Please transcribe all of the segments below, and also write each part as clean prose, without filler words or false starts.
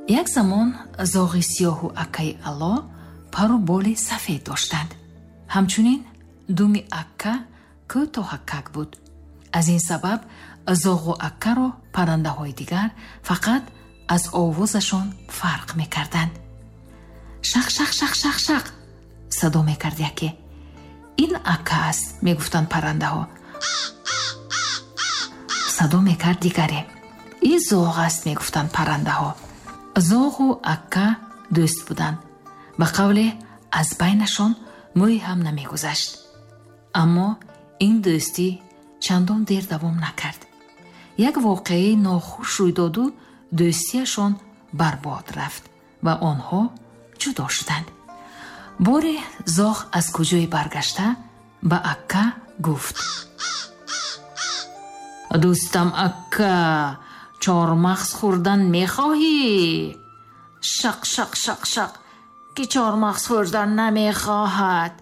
Як замон зоғи сиёҳу аккаи ало пару боли сафед доштанд. Ҳамчунин думи акка кӯтоҳакак буд. Аз ин сабаб зоғу аккаро паррандаҳои дигар фақат аз овозашон фарқ мекарданд. Шақ, шақ, шақ, шақ, шақ садо мекард яке. Ин акка аст, мегуфтанд паррандаҳо. Садо мекард дигаре. Ин зоғ аст, мегуфтанд паррандаҳо. Зоғу акка дӯст буданд. Ба қавле, аз байнашон мӯй ҳам намегузашт. Аммо ин дӯстӣ чандон дер давом накард. Як воқеаи нохуш рӯй доду дӯстиашон барбод рафт ва онҳо ҷудо шуданд. Боре зоғ аз куҷое баргашта ба акка гуфт: дӯстам акка, чормағз хӯрдан мехоҳӣ? Шақ, шақ, шақ, шақ, ки чормағз хӯрдан намехоҳад?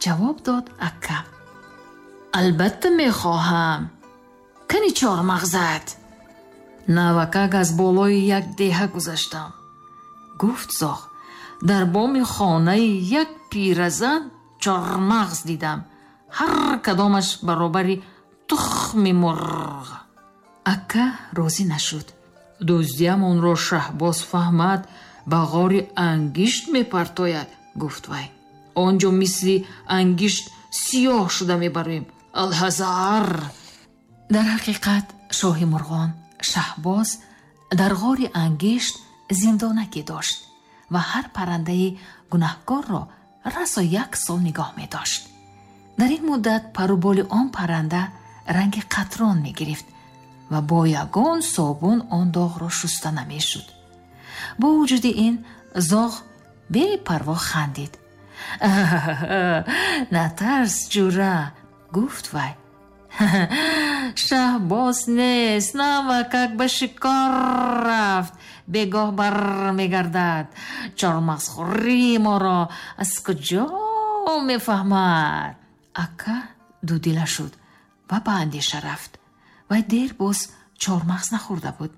Ҷавоб дод акка. Албатта мехоҳам. Кани чормағзат? Навакак аз болои як деҳа гузаштам, гуфт зоғ. Дар боми хонаи як пиразан чормағз дидам, ҳар кадомаш баробари тухми мурғ. Акка розӣ нашуд. Дӯздиамонро Шаҳбоз фаҳмад, ба ғори ангишт мепартояд, гуфт вай. Он ҷо мисли ангишт сиёҳ шуда мебароем. Алҳазар! Дар ҳақиқат шоҳи мурғон Шаҳбоз дар ғори ангишт зиндонаке дошт ва ҳар паррандаи гунаҳкорро расо як сол нигоҳ медошт. Дар ин муддат паруболи он парранда ранги қатрон мегирифт ва бо ягон собун он доғро шуста намешуд. Бо вуҷуди ин зоғ бепарво хандид. Натарс, ҷура, гуфт вай. Шаҳбоз нест, навакак ба шикор рафт, бегоҳ бармегардад. Чормағзхӯрии моро аз куҷо мефаҳмад? Акка дудила шуд ва ба андеша рафт. Вай дер боз чормағз нахӯрда буд.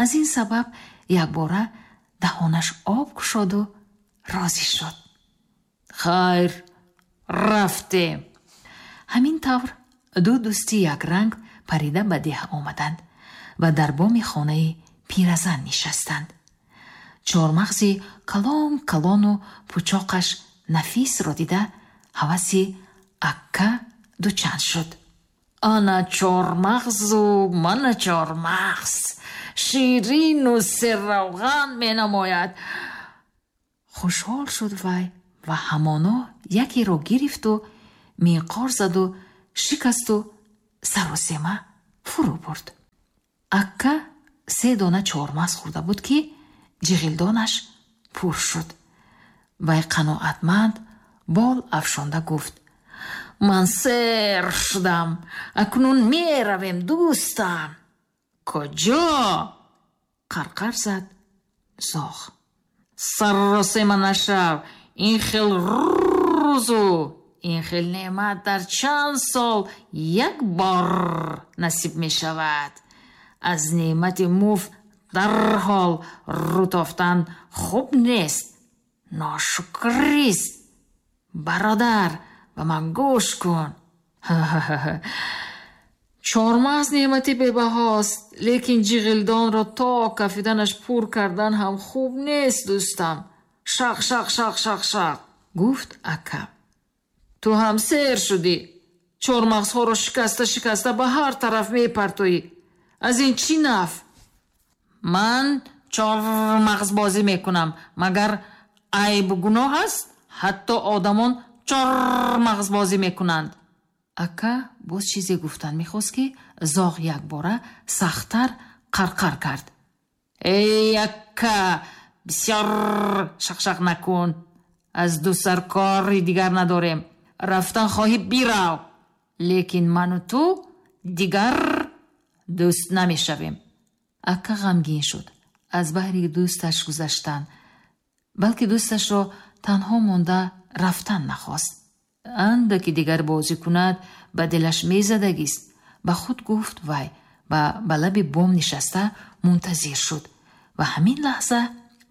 Аз ин сабаб якбора даҳонаш об кушоду розӣ шуд. Хайр, рафтем. Ҳамин тавр ду дӯсти якранг парида ба деҳа омаданд ва дар боми хонаи пиразан нишастанд. Чормағзи калон калону пучоқаш нафисро дида ҳаваси акка дучанд шуд. Ана чормағзу мана чормағз, ширину серравған менамояд. Хушҳол шуд вай ва ҳамоно якеро гирифту минқор заду шикасту саросема фурӯ бурд. Акка се дона чормағз хӯрда буд, ки ҷиғилдонаш пур шуд. Вай қаноатманд бол афшонда гуфт: ман сер шудам, акнун меравем, дӯстам. Куҷо? Қарқар зад зоғ. Саросема нашав, ин хел рӯзу ин хел неъмат дар чанд сол як бор насиб мешавад. Аз неъмати муфт дарҳол рӯ тофтан хуб нест, ношукрист. Бародар, ба ман гӯш кун. Чормағз неъмати бебаҳост, лекин ҷиғилдонро то кафиданаш пур кардан ҳам хуб нест, дӯстам. Шақ, шақ, шақ, шақ, шақ, гуфт акка. Ту ҳам сер шудӣ. Чормағзҳоро шикаста шикаста ба ҳар тараф мепартоӣ. Аз ин чӣ наф? Ман чормағзбозӣ мекунам, магар айбу гуноҳ аст? Ҳатто одамон чормағзбозӣ мекунанд. Акка боз чизе гуфтан мехост, ки зоғ якбора сахттар қарқар кард. Эй акка, бисёр шақшақ накун. Аз ду сар кори дигар надорем. Рафтан хоҳӣ, бирав, лекин ману ту дигар дӯст намешавем. Акка ғамгин шуд аз баҳри дӯсташ гузаштан, балки дӯсташро танҳо монда рафтан нахост. Андаки дигар бозӣ кунад, ба дилаш мезадагист, ба худ гуфт вай ва ба лаби бом нишаста мунтазир шуд. Ва ҳамин лаҳза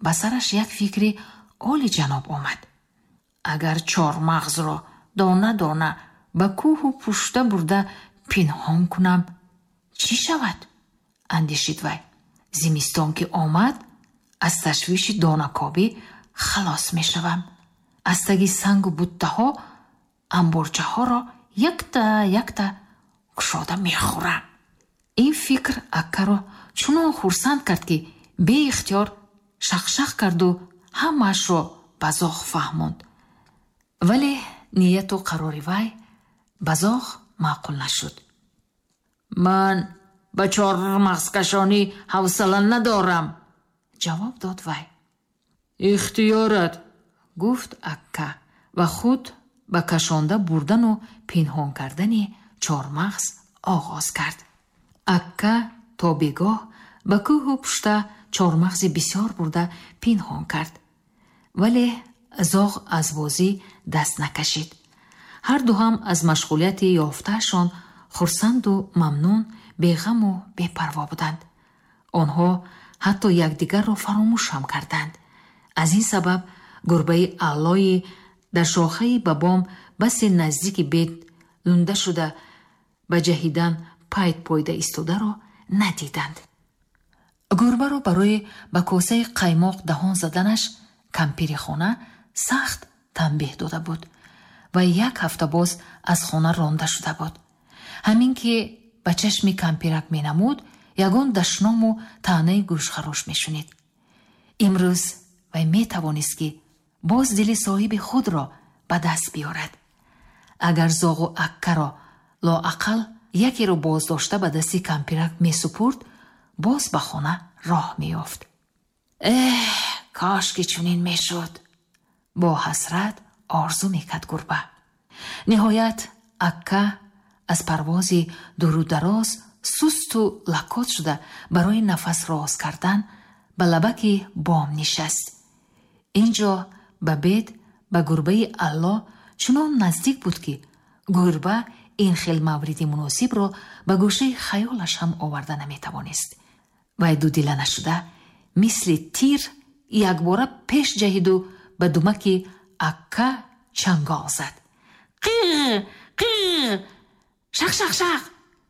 ба сараш як фикри олиҷаноб омад. Агар чормағзро дона дона ба кӯҳу пушта бурда пинҳон кунам, чӣ шавад? Андешид вай. Зимистон ки омад, аз ташвиши донакобӣ халос мешавам. Аз таги сангу буттаҳо амборчаҳоро якта якта кушода мехӯрам. Ин фикр Аккаро чунон хурсанд кард, ки беихтиёр шақшақ карду ҳамаашро ба зоғ фаҳмонд. Вале нияту қарори вай ба зоғ маъқул нашуд. Ман ба чормағзкашонӣ ҳавсала надорам, ҷавоб дод вай. Ихтиёрат, гуфт Акка ва худ ба кашонда бурдану пинҳон кардани чормағз оғоз кард. Акка то бегоҳ ба кӯҳу пушта чормағзи бисёр бурда пинҳон кард. Вале зоғ аз бозӣ даст накашид. Ҳарду ҳам аз машғулияти ёфтаашон хурсанду мамнун, беғаму бепарво буданд. Онҳо ҳатто якдигарро фаромӯш ҳам карданд. Аз ин сабаб гурбаи аллои дар шохаи ба бом басе наздики бед лунда шуда ба ҷаҳидан пайт пойда истодаро надиданд. Гурбаро барои ба косаи қаймоқ даҳон заданаш кампири хона сахт танбеҳ дода буд ва як ҳафта боз аз хона ронда шуда буд. Ҳамин ки ба чашми кампирак менамуд, ягон дашному таънаи гӯшхарош мешунид. Имрӯз вай метавонист, ки боз дили соҳиби худро ба даст биёрад. Агар зоғу Аккаро лоақал якеро боздошта ба дасти кампирак месупурд, боз ба хона роҳ меёфт. Эҳ, кош ки чунин мешуд, бо ҳасрат орзу мекард гурба. Ниҳоят Акка аз парвози дуру дароз сусту лакот шуда барои нафас роз кардан ба лабаки бом нишаст. Ин ҷо ба бед ба гурбаи алло чунон наздик буд, ки гурба ин хел мавриди муносибро ба гӯшаи хаёлаш ҳам оварда наметавонист. Вай дудила нашуда, мисли тир якбора пеш ҷаҳиду ба думаки Акка чангол зад. Қиғ, қиғ, шақ, шақ, шақ,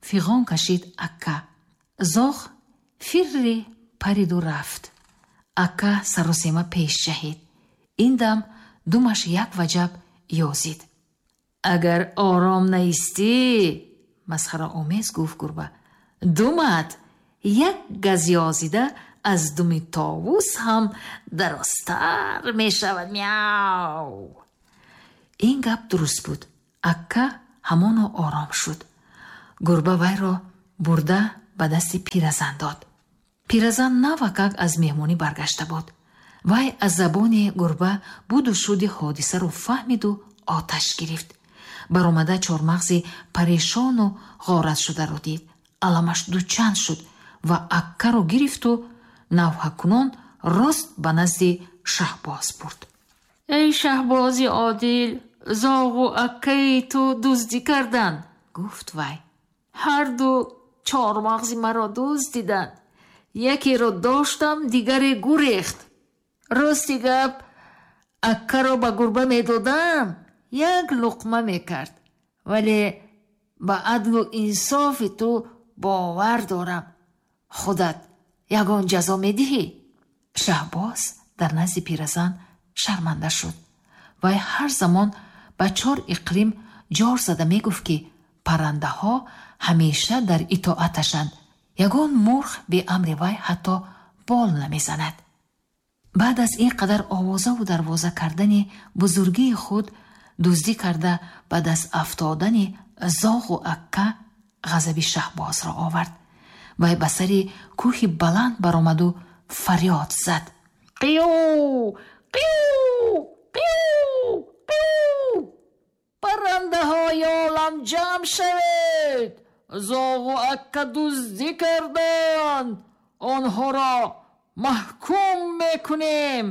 фиғон кашид Акка. Зоғ фирри париду рафт. Акка саросема пеш ҷаҳид. Ин дам думаш як ваҷаб ёзид. Агар ором наистӣ, масхараомез гуфт гурба, думат як газ ёзида аз думи товус ҳам дарозтар мешавад. Мяу! Ин гап дуруст буд. Акка ҳамоно ором шуд. Гурба вайро бурда ба дасти пиразан дод. Пиразан навакак аз меҳмонӣ баргашта буд. Вай аз забони гурба буду шуди ҳодисаро фаҳмиду оташ гирифт. Баромада чормағзи парешону ғоратшударо дид, аламаш дучанд шуд ва Аккаро гирифту навҳакунон рост ба назди шаҳбоз бурд. Эй шаҳбози одил, зоғу аккаи ту дуздӣ карданд, гуфт вай. Ҳарду чормағзи маро дуздиданд. Якеро доштам, дигаре гурехт. Рости гап, Аккаро ба гурба медодам, як луқма мекард, вале ба адлу инсофи ту бовар дорам. Худат ягон ҷазо медиҳӣ? Шаҳбоз дар назди пиразан шарманда шуд. Вай ҳар замон ба чор иқлим ҷор зада мегуфт, ки паррандаҳо ҳамеша дар итоаташанд, ягон мурғ беамри вай ҳатто бол намезанад. Баъд аз ин қадар овозаву дарвоза кардани бузургии худ, дуздӣ карда ба даст афтодани зоғу Акка ғазаби шаҳбозро овард. Вай ба сари кӯҳи баланд баромаду фарёд зад: Қию, қию, қию, қию! Паррандаҳои олам, ҷамъ шавед! Зоғу Акка дуздӣ карданд, онҳоро маҳкум мекунем.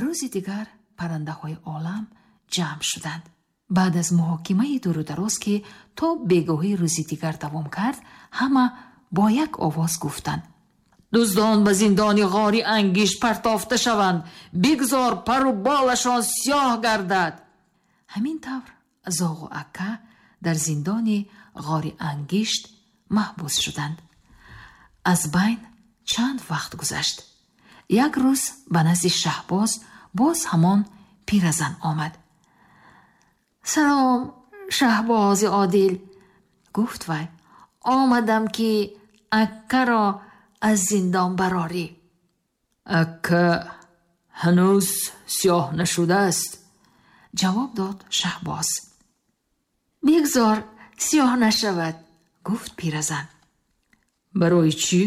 Рӯзи дигар паррандаҳои олам ҷамъ шуданд. Баъд аз муҳокимаи дуру дароз, ки то бегоҳии рӯзи дигар давом кард, ҳама бо як овоз гуфтанд: Дуздон ба зиндони ғори ангишт партофта шаванд, бигзор пару болашон сиёҳ гардад. Ҳамин тавр зоғу акка дар зиндони ғори ангишт маҳбус шуданд. Аз байн чанд вақт гузашт. Як рӯз ба назди Шаҳбоз боз ҳамон пиразан омад. Салом, Шаҳбози одил, гуфт вай. Омадам, ки аккаро аз зиндон барорӣ. Акка ҳанӯз сиёҳ нашудааст, ҷавоб дод Шаҳбоз. Бигзор сиёҳ нашавад, гуфт пиразан. Барои чӣ?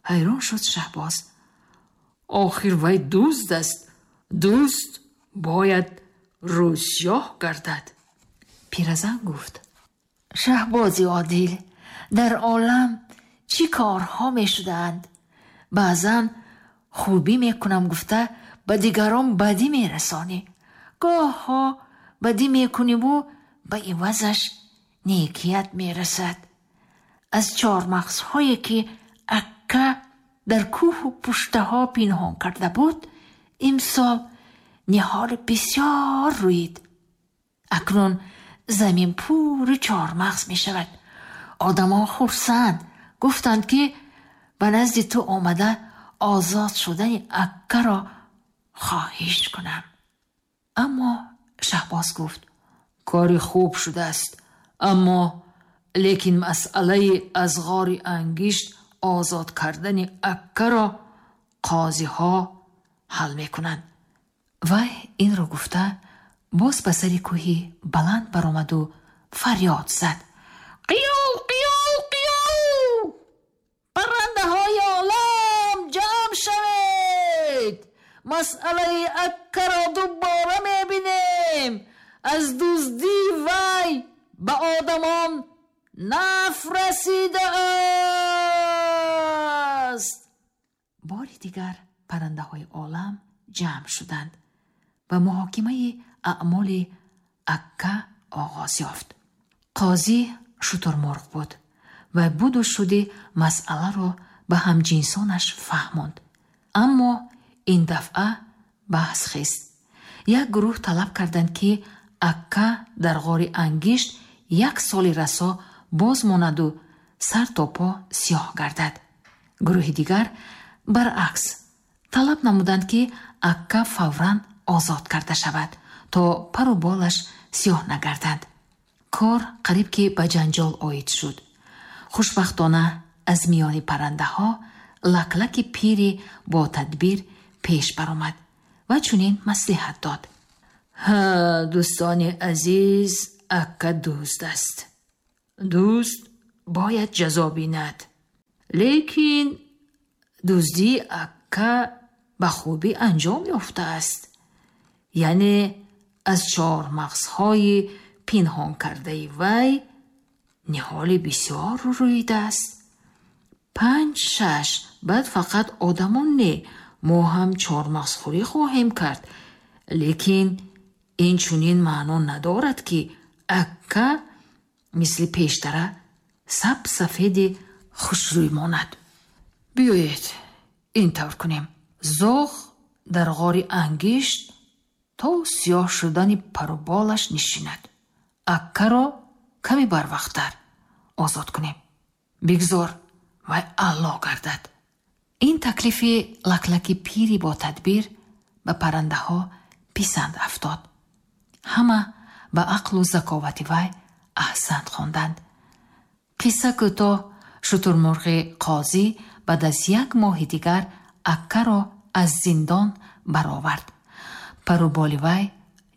Ҳайрон шуд Шаҳбоз. Охир вай дузд аст. Дузд бояд рӯсиёҳ гардад. Пиразан гуфт: Шаҳбози одил, дар олам чӣ корҳо мешудаанд? Баъзан хубӣ мекунам гуфта, ба дигарон бадӣ мерасонӣ. Гоҳҳо бадӣ мекуниву ба ивазаш некият мерасад. Аз чормағзҳое, ки акка дар кӯҳу пуштаҳо пинҳон карда буд, имсол ниҳоли бисёр рӯид. Акнун замин пури чормағз мешавад. Одамон хурсанд, гуфтанд, ки ба назди ту омада озод шудани аккаро хоҳиш кунам. Аммо Шаҳбоз гуфт: кори хуб шудааст, аммо лекин масъалаи аз ғори ангишт озод кардани аккаро қозиҳо ҳал мекунанд. Вай инро гуфта, боз ба сари кӯҳи баланд баромаду фарёд зад: Қиёв, қиёв, қиёв! Паррандаҳои олам, ҷамъ шавед! Масъалаи аккаро дубора мебинем. Аз дуздии вай ба одамон наф расидааст. Бори дигар паррандаҳои олам ҷамъ шуданд ва муҳокимаи аъмоли акка оғоз ёфт. Қозӣ шутурмурғ буд ва буду шуди масъаларо ба ҳамҷинсонаш фаҳмонд. Аммо ин дафъа баҳс хест. Як гурӯҳ талаб карданд, ки акка дар ғори ангишт як соли расо боз монаду сар то по сиёҳ гардад. Гурӯҳи дигар баръакс талаб намуданд, ки акка фавран озод карда шавад, то пару болаш сиёҳ нагардад. Кор қариб ки ба ҷанҷол оид шуд. Хушбахтона, аз миёни паррандаҳо лаклаки пири бо тадбир пеш баромад ва чунин маслиҳат дод: Ҳа, дӯстони азиз, акка дузд аст. Дузд бояд ҷазо бинад. Лекин дуздии акка ба хубӣ анҷом ёфтааст. Яъне аз чормағзҳои пинҳон кардаи вай ниҳоли бисёр рӯидааст. Панҷ, шаш, баъд фақат одамон не, мо ҳам чормағзхӯрӣ хоҳем кард. Лекин ин чунин маъно надорад, ки акка мисли пештара саб сафеди хушрӯй монад. Биёед, ин тавр кунем. Зоғ дар ғори ангишт то сиёҳ шудани паруболаш нишинад. Аккаро каме барвақттар озод кунем. Бигзор вай аъло гардад. Ин таклифи лаклаки пири бо тадбир ба паррандаҳо писанд афтод. Ҳама ба ақлу заковати вай аҳсант хонданд. Қисса кӯтоҳ, шутурмурғи қозӣ баъд аз як моҳи дигар аккаро аз зиндон баровард. Паруболи вай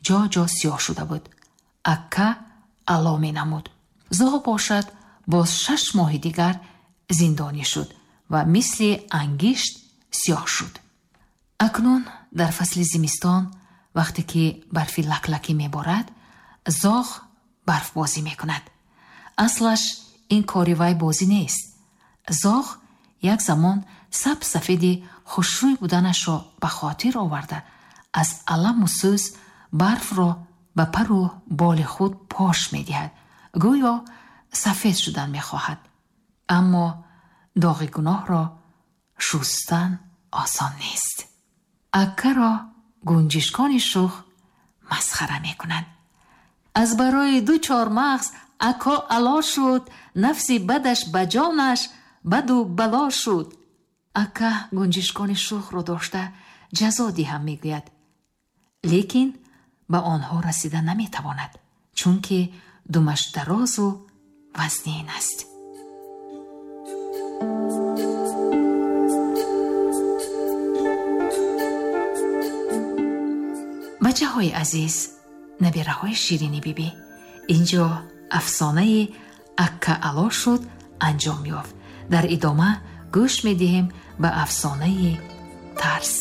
ҷо ҷо сиёҳ шуда буд. Акка аъло менамуд. Зоғ бошад, боз 6 моҳи дигар зиндонӣ шуд ва мисли ангишт сиёҳ шуд. Акнун дар фасли зимистон, вақте ки барфи лаклакӣ меборад, зоғ барфбозӣ мекунад. Аслаш ин кори вай бозӣ нест. Зоғ як замон саб сафеди хушрӯй буданашро ба хотир оварда, аз аламу сӯз барфро ба пару боли худ пош медиҳад, гӯё сафед шудан мехоҳад. Аммо доғи гуноҳро Шустан осон нест. Акаро гунҷишкони шух масхара мекунанд. Аз барои ду чормағз ако ало шуд, нафси бадаш ба ҷонаш баду бало шуд. Ака гунҷишкони шухро дошта ҷазо диҳам мегӯяд, лекин ба онҳо расида наметавонад, чунки думаш дарозу вазнин аст. Бачаҳои азиз, набираҳои ширини бибӣ, инҷо афсонаи Акка ало шуд анҷом ёфт. Дар идома гӯш медиҳем ба афсонаи тарс.